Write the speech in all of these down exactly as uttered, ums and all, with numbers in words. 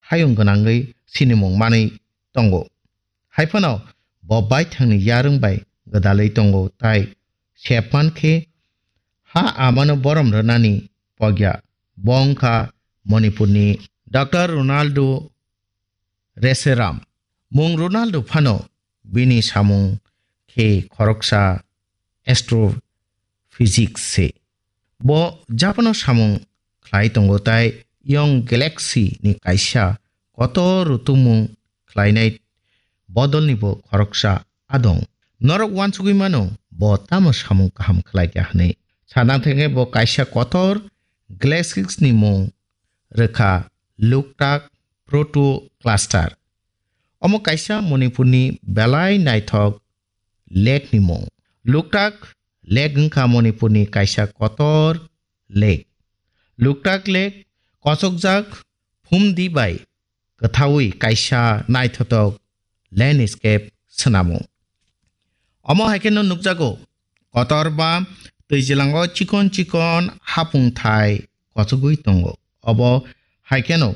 hayung gwnangwi sinimung manwi tongo. Hai phano bo baithangni yarwng bai gwdalwi tongo, tai sepman khe ha amano borom rwnani pogya. Bo wngkha Manipurni Doctor Ronaldo Reseram. Mung Ronaldo phano bini samung khe khoroksa astrophysics se. Bo Japan-o samung khlai tongo tai Young Galaxy ni kaisa kotor rutumung khlainai bodolni bo khoroksa adong. Norok uansugwi mano bo tamo samung kaham khlai kha hwnwi. Sana thangkhe bo kaisa kotor galaxies ni mung rwkha Loktak Protocluster. Omo kaisa Manipurni belai naithok lake ni mung. Loktak Lake wngkha Manipurni kaisa kotor lake. Loktak Lake kochokjak phumdi bai kwthaui kaisa naithotok landscape swnamo. Omo hai kheno nukjago, kotorma twijilango chikon chikon hapung thai kochogwi tongo. Obo hai kheno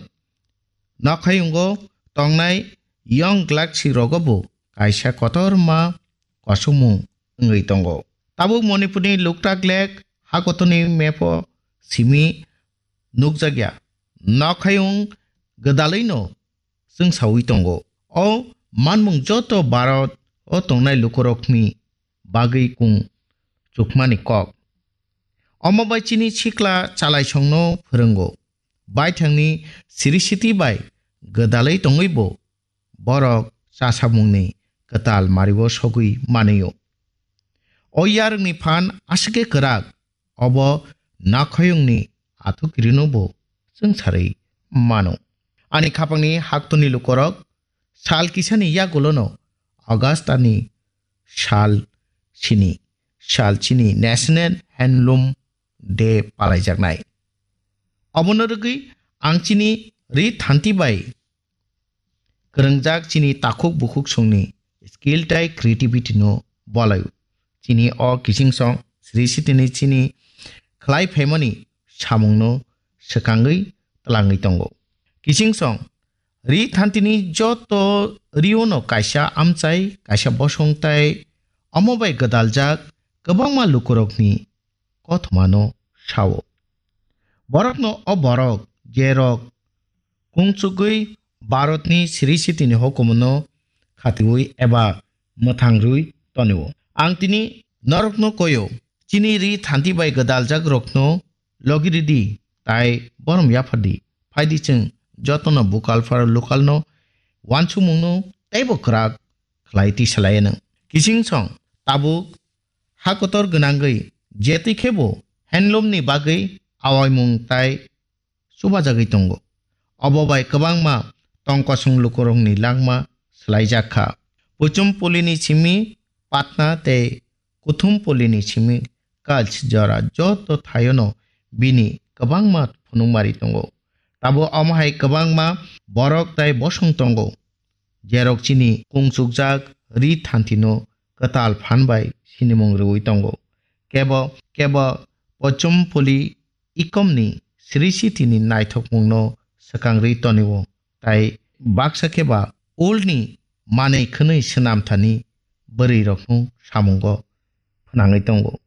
nokhayungo tongnai Young Galaxy rogo bo kaisa kotorma kosomung wngwi tongo. Tabuk Manipurni Loktak Lake hakotorni map-o simi nukjakya. Nokhayung gwdalwino chwngsawi tongo. O manmung joto Bharat-o tongnai lukurokni bagwi kung chukmani kok. Omo bai chini sikla chalaisongno phwrwngo. Baithangni Sri Siti bai gwdalwi tongwibo borok chasamungni kwtal mario sogwi manio. O yarwngni phan aswkhe kwrak, obo nakhayungni athukirino bo chwngsarwi mano. Ani khapangni haktorni lukorok sal kisani yagulono August ani sal sini, sal chini National Handloom Day palaijaknai. Obono rwgwi ang chini ri thanti bai kwrwngjak chini takhuk bukhuk songni skill tai creativity no bolaio. Chini o kiching song Sri Sitini chini khlai phaimani samungno swkangwi twlangwi tongo. Kiching song ri thantini joto riono kaisa amchai, kaisa bosong tai omo bai gwdaljak kwbangma lukurokni kothomano sao. Borokno o borok, jerok kungchugwi Bharatni Sri Sitini hukumono khatiui eba mwthang rwi tonio. Ang tini norokno koio, chini ri thanti bai gwdaljak rokno logi ridi, tai borom yaphardi. Phaidi chwng jotono bukalphar lokalno wansukmungno teibo kwrak khlai tisalaianw. Kiching song tabuk ha kotor gwnangwi je twi khebo handloomni bagwi awaimung tai chubajagwi tongo. Obo bai kwbangma tongkosong lukurokni langma swlaijak kha. Puchum Polini simi Patna tei Kuthum Polini simi Kachh jora joto thaiono bini kwbangma phunukmari tongo. Tabuk omo hai kwbangma borok tai bosong tongo, jerok chini kungchukjak ri thantino kwtal phan bai sinimung rwui tongo. Kebo kebo Pochum Poli ikomni Sri Sitini naithokmungno swkang rwi tonio, tai baksa khe ba ulni manwi khwnwi swnam thani bwrwirokno samungo phnangwi tongo.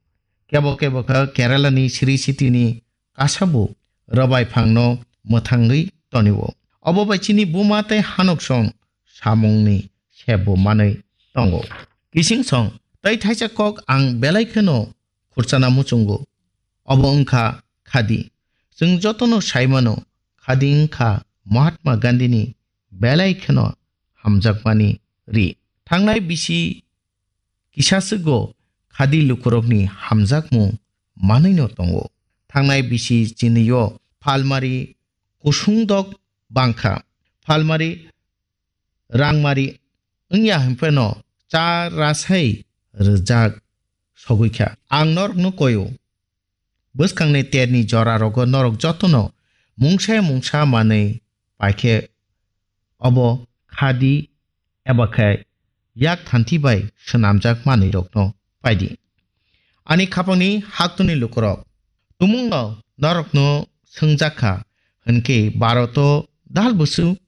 Kebo kebo khe Keralani Sri Sitini kasabu rwbai phangno mwthangwi tonio. Obo bai chini buma tei hanoksong samungni sebbo manwi tongo. Kiching song tei thaisa kok ang belai kheno khurchana muchungo. Obo wngkha khadi. Chwng jotono saimano, khadi wngkha Mahatma Gandhini belai kheno hamjakmani ri. Thangnai bisi kisaswgo khadi lukurokni hamjakmung manwino tongo. Thangnai bisi chinio phalmari kusungdok bangkha. Phalmari rangmari wngya hinpheno cha rasai rwjak sogwi kha. Ang norokno koio, bwskangni terni jorarogo norok jotono mungsa mungsa manwi paikhe obo khadi eba khe yak thanthi bai swnamjak manwirokno paidi. Ani khapangni haktwni lukurok, tumungno norokno swngjak kha, hwnkhe Bharoto dal bwswk